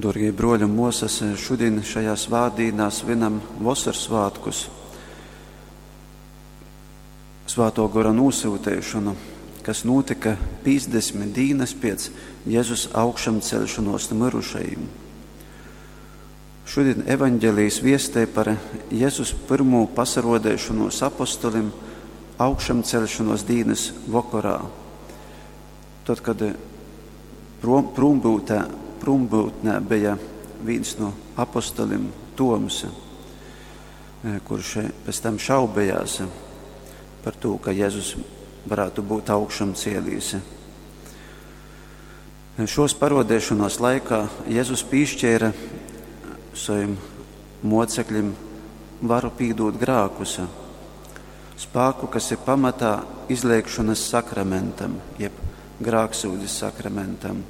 Dārgie broļi un muosas, šodien šajā svētdienā svinam Vosorsvētkus, Svāto Gora nosūtīšanu, kas notika 50 dienas pēc Jēzus augšamcelšanos no mirušajiem. Šodien evaņģēlijs viestē par Jēzus pirmo pasarodēšanos apostolim augšamcelšanos dienas vakarā. Tad, kad prom, prombūtē, prombūtnē bija viens no apostolim Toms, kurš pēc tam šaubējās par to, ka Jēzus varētu būt augšām cielījis. Šos parodēšanos laikā Jēzus pīšķēra saviem mocekļiem varu pīdot grākus, spēku, kas ir pamatā izliekšanas sakramentam, jeb grāksūdzes sakramentam.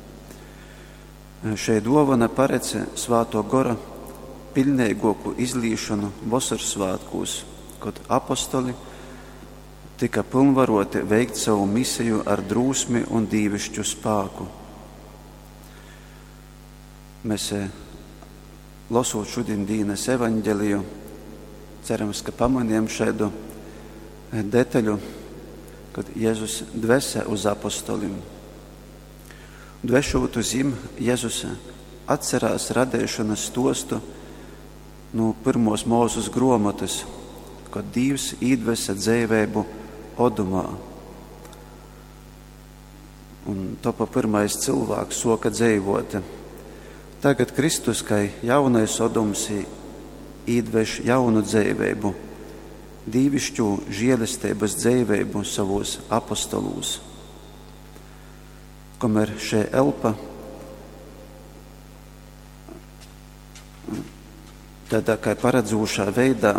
Šeit dovana paredz Svāto Gora pilnīgāku izlīšanu Vosorsvētkos, kad apostoli tika pilnvaroti veikt savu misiju ar drūsmi un dīvišķu spāku. Mēs, lasot šodien dienas evaņģeliju, cerams, ka pamanījām šādu detaļu, kad Jēzus dvese uz apostolim. Dvešot uz jim, Jēzus atcerās radēšanas stostu no pirmos mūzus gromotas, kad Dievs īdvesa dzēvēbu odumā. Un topa pirmais cilvēks soka dzēvot. Tagad Kristus, kā jaunais odums, īdveš jaunu dzēvēbu, dīvišķu žēlestības dzēvēbu savos apostolūs. Kamēr šī elpa tādā kā paredzūšā veidā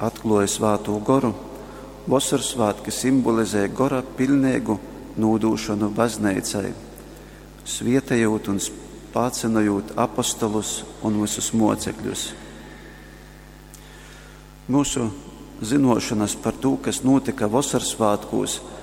atklāja svāto goru, Vosorsvētki simbolizē gora pilnīgu nūdūšanu baznīcai, svietējot un spācinojot apostolus un visus mocekļus. Mūsu zinošanas par to, kas notika Vosorsvētkos,